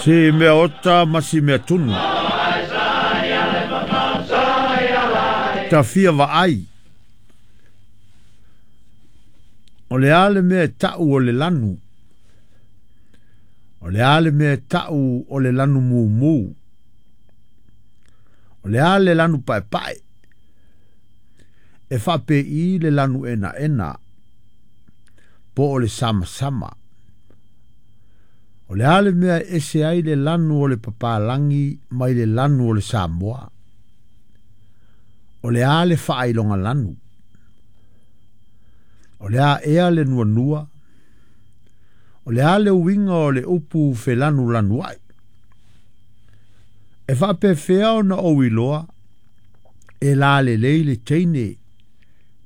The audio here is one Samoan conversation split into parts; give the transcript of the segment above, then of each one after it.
Si mea ota ma si mea tunu. Ta fia vaai. O le a le mea e ta'u o le lanu? O le a le mea e ta'u o le lanu mumu? O le a le lanu pa'epa'e? E fa'ape'i le lanu enaena po o le samasama. O le a le mea e ese ai le lanu o le papalagi mai le lanu o le Samoa? O le a le fa'ailoga lanu? O le a ea le nuanua? O le a le uiga o le upu felanulanua'i? E fa'apefea ona ou iloa e lalelei le teine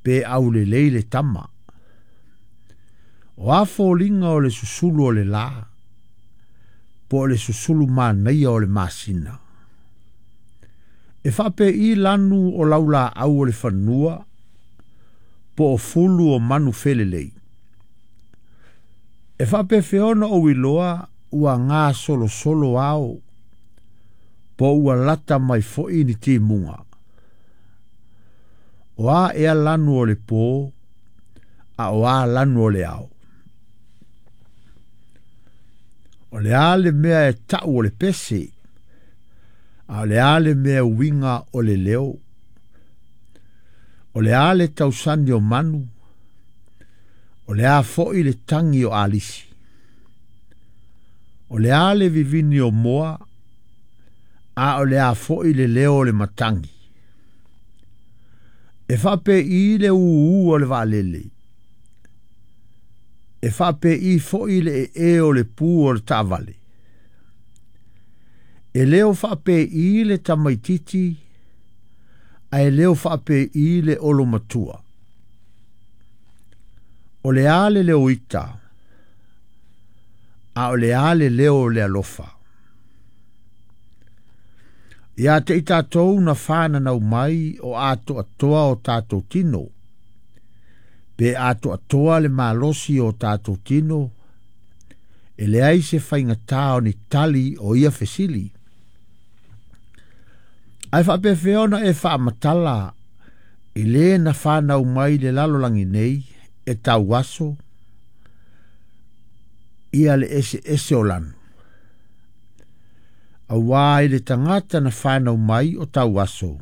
pe aulelei le tama? O a foliga o le susulu o le lā po o le susulu manaia o le masina? E fa'ape'i lanu o laulā'au o le fanua po o fulu o manu felelei? E fa'apefea ona ou iloa ua gasolosolo ao po ua lata mai fo'i ni timuga? O a ea lanu o le pō a o a lanu o le ao? O le a le mea e ta'u o le pese a o le a le mea uiga o le leo? O le a le tausani o manu? O le a fo'i le tagi o alisi? O le a le vivini o moa a o le a fo'i le leo o le matagi? E fa'ape'i le ūū o le va'alele? E fa'ape'i fo'i le e'e o le pū o le ta'avale? E leo fa'ape'i le tamaititi ae leo fa'ape'i le olo matua? O le a le leo ita a o le a le leo o le alofa? Iā te i tātou na whānanau mai o atoatoa o tātou tino, pe atoatoa le malosi o tātou tino, e leai se faigata o ni tali o ia fesili. Ae fa'apefea ona e fa'amatala i lē na whānau mai le lalolagi nei e tauaso ia le eseese o lanu? Auā i le tagata na whānau mai o tauaso,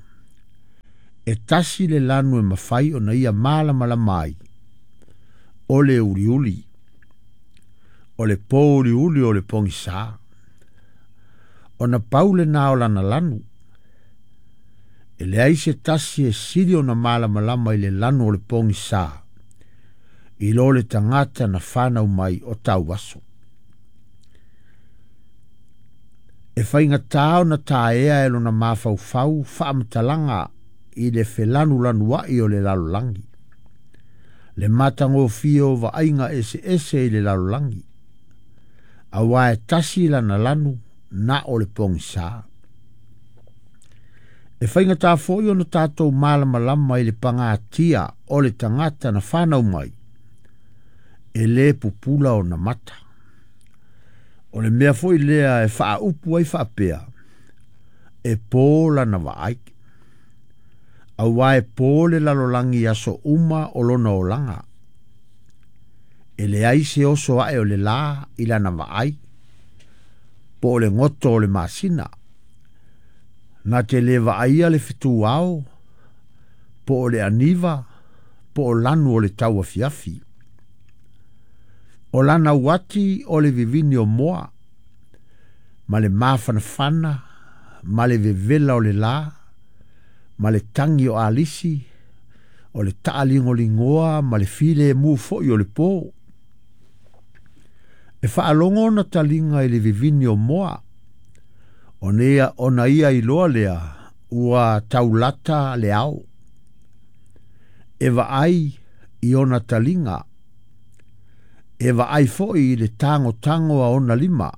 e tasi le lanu e mafai ona ia malamalama ai, o le uliuli, o le pō uliuli o le pogisā. Ona pau lenā o lana lanu. E leai se tasi e sili ona malamalama i le lanu o le pogisā, i lo le tagata na whānau mai o tauaso. E faigata ona taea e lona mafaufau fa'amatalaga i le felanulanua'i o le lalolagi, le matagofie o va'aiga eseese i le lalolagi, auā e tasi lana lanu na o le pogisā. E faigata fo'i ona tatou malamalama i le pagatia o le tagata na whānau mai, e lē pupula ona mata. O le mea fo'i lea e fa'aupu ai fa'apea, e pō lana va'ai. Auā e pō le lalolagi aso uma o lona olaga. E leai se oso a'e o le lā i lana va'ai, po o le goto o le masina. Na te lē va'aia le fetū ao, po o le aniva, po o lanu o le tauafiafi. O lana uati o le vivini o moa, ma le mafanafana, ma le vevela o le lā, ma le tagi o alisi, o le ta'aligoligoa ma le filemu fo'i o le pō. E fa'alogo ona taliga i le vivini o moa, ona ia iloa lea ua taulata le ao. E va'ai i ona taliga, e va'ai fo'i i le tagotago a ona lima.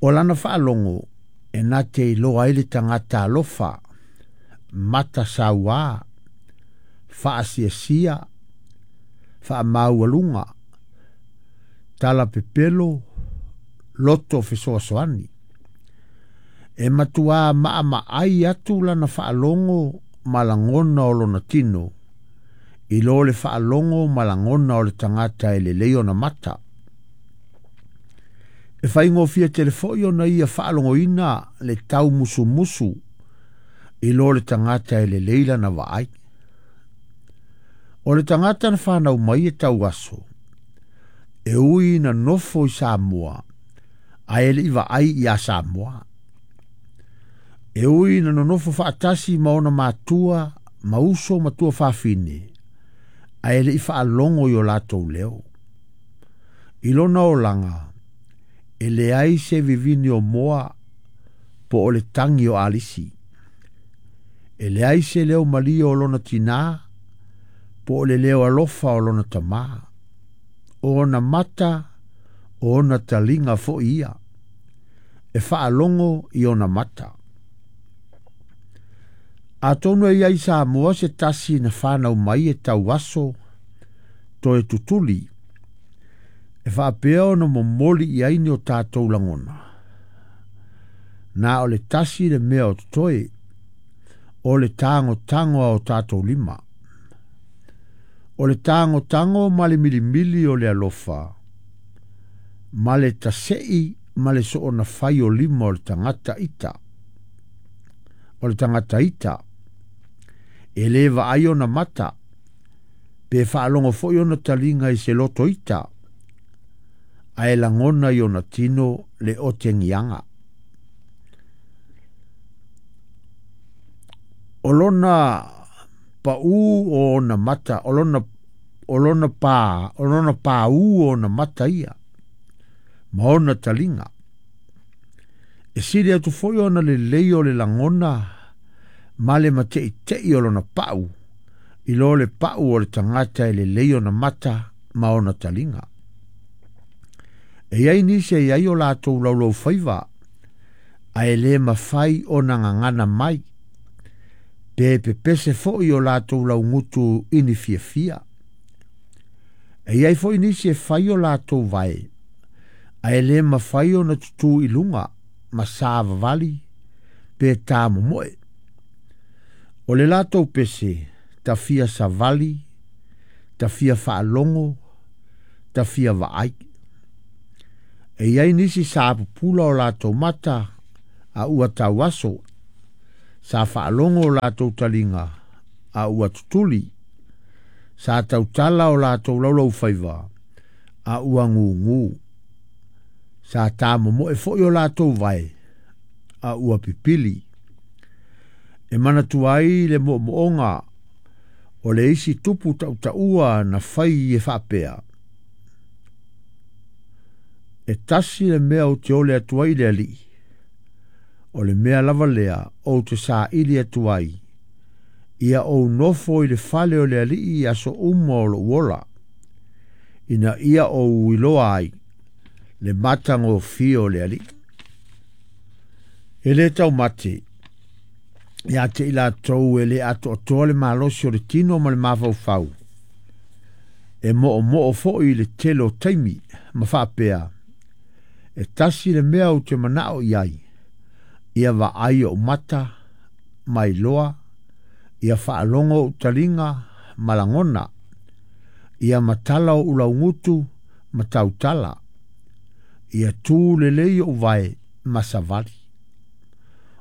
O lana fa'alogo e na te iloa ai le tagata alofa, mata sauā, fa'asiasia, fa'amaualuga, tala pepelo, loto fesoasoani. E matuā maʻamaʻai atu lana faalogo ma lagona o lona tino i lo le faalogo ma lagona o le tagata e lelei ona mata. E faigofie tele foʻi ona ia faalogoina le taumusumusu i lo le tagata e lelei lana vaai. O le tagata na fanau mai e tauaso, e ui na nofo i Samoa, ae leʻi vaai iā Samoa. E ui na nonofo faatasi ma ona matua, ma uso ma tuafafine, ae leʻi faalogo i o latou leo. I lona olaga, e leai se vivini o moa po o le tagi o alisi. E leai se leo malie o lona tinā po o le leo alofa o lona tamā. O ona mata, o ona taliga foʻi ia, e faalogo i ona mata. Atonu e iai Samoa se tasi na fanau mai e tauaso toe tutuli, e faapea ona momoli i ai ni o tatou lagona. Na o le tasi le mea o totoe, o le tagotago a o tatou lima. O le tagotago ma le milimili o le alofa, ma le taseʻi ma le soona fai o lima o le tagata ita. O le tagata ita, e lē vaai ona mata, pe faalogo foʻi ona taliga i se loto ita, ae lagona i ona tino le otegiaga. O lona paʻū o ona mata, o lona o lona pa, o lona paū o ona mata ia, ma ona taliga. E sili atu foʻi ona lelei o le lagona ma le mateʻiteʻi o lona paʻu, i lo le paʻu o le tagata e lelei ona mata ma ona taliga. E iai nisi e iai o latou laulaufaiva, ae lē mafai ona gagana mai, pe pepese foʻi o latou laugutu i ni fiafia. E iai foʻi nisi e fai o latou vae, ae lē mafai ona tutū i luga ma savavali pe tāmomoe. O le latou pese, tafia savali, tafia faalogo, tafia vaai. E iai nisi sa pupula o latou mata a ua tauaso, sa faalogo o latou taliga a ua tutuli, sa tautala o latou laulaufaiva a ua gugū, sa tāmomoe foʻi o latou vae a ua pipili. E manatua ai le moomooga o le isi tupu tautaua na fai e faapea. E tasi le mea ou te ole atu ai i le Alii, o le mea lava lea ou te saili atu ai, ia ou nofo i le fale o le Alii i aso uma o lou ola, ina ia ou iloa ai le matagofie o le Alii. E lē taumate iā te i latou e lē atoatoa le malosi o le tino ma le mafaufau, e moomoo foʻi i le tele o taimi ma faapea, e tasi le mea ou te manaʻo i ai, ia vaai oʻu mata ma iloa, ia faalogo oʻu taliga ma lagona, ia matala oʻu laugutu ma tautala, ia tū lelei oʻu vae ma savali.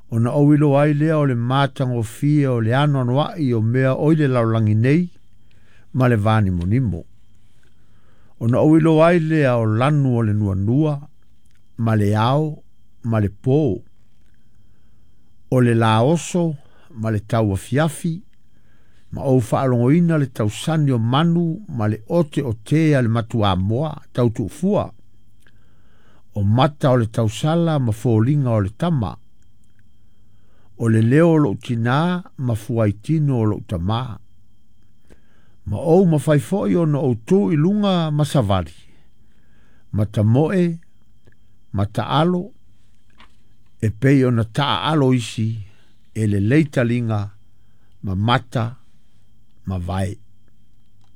Ona ou iloa ai lea o le matagofie o le anoanoaʻi o mea o i le lalolagi nei ma le vanimonimo. Ona ou iloa ai lea o lanu o le nuanua ma le ao ma le pō, o le lā oso ma le tauafiafi, ma ou faalogoina le tausani o manu ma le ote o tē a le matuamoa tautuufua, o mata o le tausala ma foliga o le tama, o le leo o lou tinā ma fuaitino o lou tamā. Ma ou mafai foʻi ona ou tū i luga ma savali, ma tamoe, ma taalo, e pei ona taaalo isi e lelei taliga ma mata ma vae.